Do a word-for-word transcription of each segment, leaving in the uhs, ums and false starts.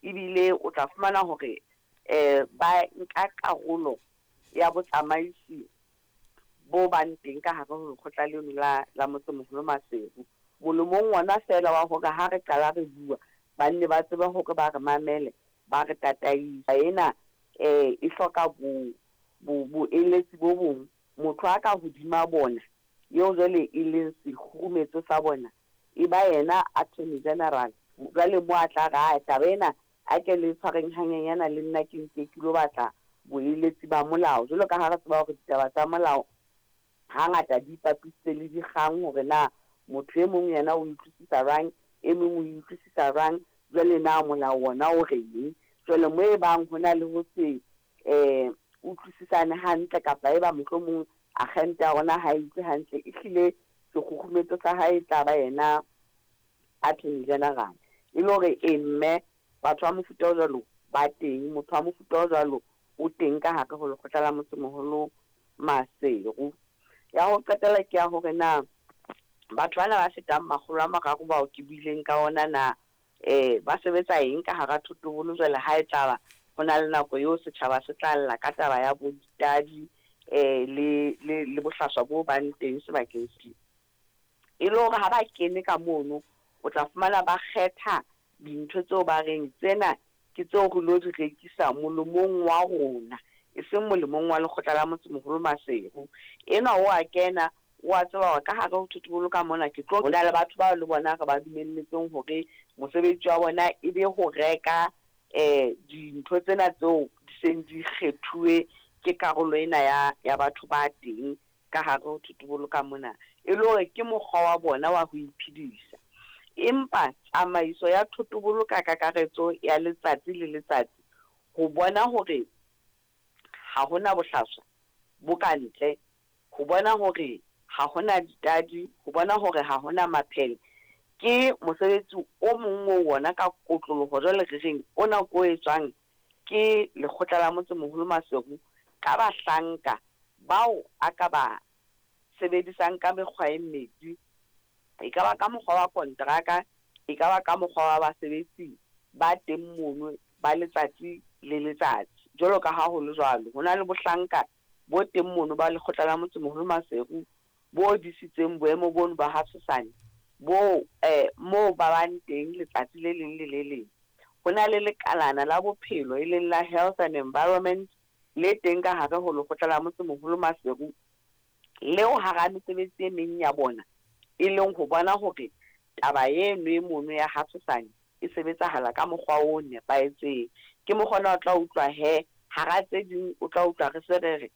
Ebile o tla fumana hore um ba nka karolo ya botsamaisi bo bang teng ka hare ho lekgotla leno la la motsemoholo Maseru. Molemong ona feela wa hore ha re qala re bua, ba nne ba tsebe hore ba re mamele, ba re tataisa. Ena um e hloka bo bo boeletsi bo bong. Motho a ka hodima bona, eo jwale e leng sekgurumetso sa bona, e ba yena Attorney General. Jwale mo a tla re, taba ena a ke le tshwareng hanyenyana le nna ke nke ke lo batla boeletsi ba molao. Jwalo ka ha re tseba hore ditaba tsa molao hangata di ipapisitse le dikgang hore na motho e mong yena o utlwisisa jwang, e mong o utlwisisa jwang, jwale na molao ona o reng. Jwale mo e bang ho na le ho se um utlwisisane hantle kapa eba mohlomong akgente ya rona ha e utlwe hantle, ehlile sekgukgumetso sa hae e tla ba yena Attorney General. E le hore e mme batho ba mofuta o jwalo ba teng, motho wa mofuta o jwalo o teng ka hare ho lekgotla la motsemoholo Maseru. Ya ho qetela ke ya hore na batho bana ba fetang makgolo a mararo bao ke buileng ka ona na um ba sebetsa eng ka hara thotobolo jwale ha e tlaba ho na le nako eo setjhaba se tla lla ka taba ya bo ditadi um le le le bohlaswa bo bang teng sebakeng se. E le hore ha ba kene ka mono, o tla fumana ba kgetha dintho tseo ba reng tsena ke tseo re lo di rekisa molemong wa rona, e seng molemong wa lekgotla la motsemoholo Maseru. Enwa o a kena, o a tseba hore ka hare ho thotobolo ka mona ke tlo, ho na le batho bao le bona re ba dumelletseng hore mosebetsi wa bona e be ho reka um dintho tsena tseo di seng di kgethuwe ke karolo ena ya ya batho ba teng ka hare ho thotobolo ka mona. E le hore ke mokgwa wa bona wa ho iphedisa. Empa tsamaiso ya thotobolo ka kakaretso ya letsatsi le letsatsi, ho bona hore ha hona bohlaswa bo ka ntle, ho bona hore ha hona ditadi, ho bona hore ha hona maphele, ke mosebetsi o mong oo wona ka kotloloho jwale re reng ona ko etswang ke lekgotla la motsemoholo Maseru ka bahlanka bao a ka ba sebedisang ka mekgwa e mmedi. E ka ba ka mokgwa wa kontraka, e ka ba ka mokgwa wa basebetsi ba teng mono ba letsatsi le letsatsi. Jwalo ka ha ho le jwalo, ho na le bohlanka bo teng mono ba lekgotla la motsemoholo Maseru bo disitseng boemo bono ba ha tshosane, bo eh moo ba bang teng letsatsi le leng le le leng. Ho na le lekalana la bophelo e leng la Health and Environment le teng ka hare ho lekgotla la motsemoholo Maseru, leo hara mesebetsi e meng ya bona e leng ho bona hore taba eno e mono ya ha tshosane e sebetsahala ka mokgwa o nepahetseng. Ke mokgwa ona o tla utlwa he hara tse ding o tla utlwa re se re re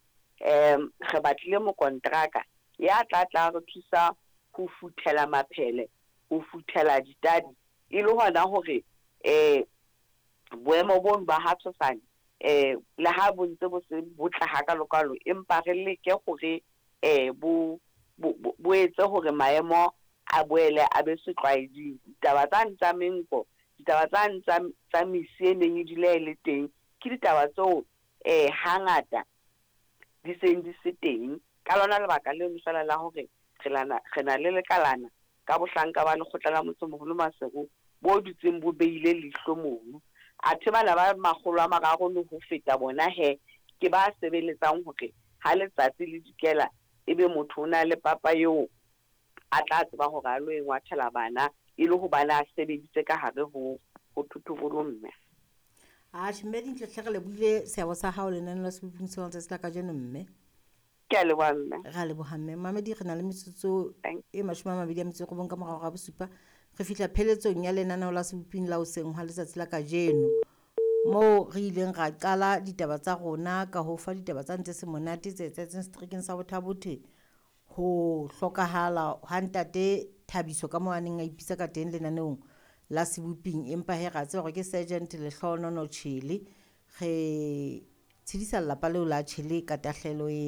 um re batlile mokontraka ya tla tla re thusa ho futhela maphele, ho futhela ditadi, e le hona hore um boemo bono ba ha tshosane um le ha bo ntse bo se botle hakalokalo, empa re leke hore um bo bo bo etse hore maemo a boele a be setlwaeding. Ditaba tsane tsa menko, ditaba tsane tsa tsa mesi e neng e dula e le teng, ke ditaba tseo um hangata di seng di se teng. Ka lona lebaka leno feela la hore re lana re na le lekalana ka bohlanka ba lekgotla la motsemoholo Maseru bo dutseng bo beile leihlo mono. Athe bana ba makgolo a mararo le ho feta bona he ke ba sebeletsang hore ha letsatsi le dikela ebe motho o na le papa eo a tla tseba hore a lo e ngwathela bana, e le hobane a sebeditse ka hare ho ho thotobolo mme. Atjhe mme Dintle hle re lebohile seabo sa hao lenaneo la Seboping sa letsatsi la kajeno mme. Ke a leboha mme. Re a leboha mme. Mamedi re na le metsotso Thank e mashome a mabedi a metso e robong ka morao ga bosupa. Re fihla pheletsong ya lenaneo la Seboping la hoseng hwa letsatsi la kajeno, moo re ileng ra qala ditaba tsa rona ka ho fa ditaba tsa ntse se monate tse etsahetseng seterekeng sa Botha-Bothe, ho hlokahala ha ntate Thabiso ka moo a neng a ipitsa ka teng lenaneong la Seboping, empa he ra tseba hore ke Sergeant Lehlohonono Tjhele. Re tshedisa lelapa leo la Tjhele ka tahlehelo ena.